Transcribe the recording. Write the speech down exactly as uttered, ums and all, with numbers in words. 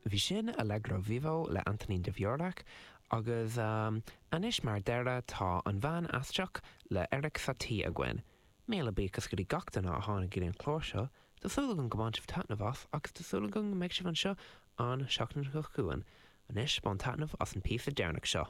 Bhí sin Allegro Vivo le Antonín Dvořák agus um, anois mar dheireadh tá an bhean aisteach le Erik Satie againn. Míle buíochas go dtí gach duine a tháinig an clár seo, Tá súil agam gur bhain sibh taitneamh as agus tá súil agam go mbeidh sibh anseo an seachtain seo chugainn. Anois bain taitneamh as an píosa deireanach seo.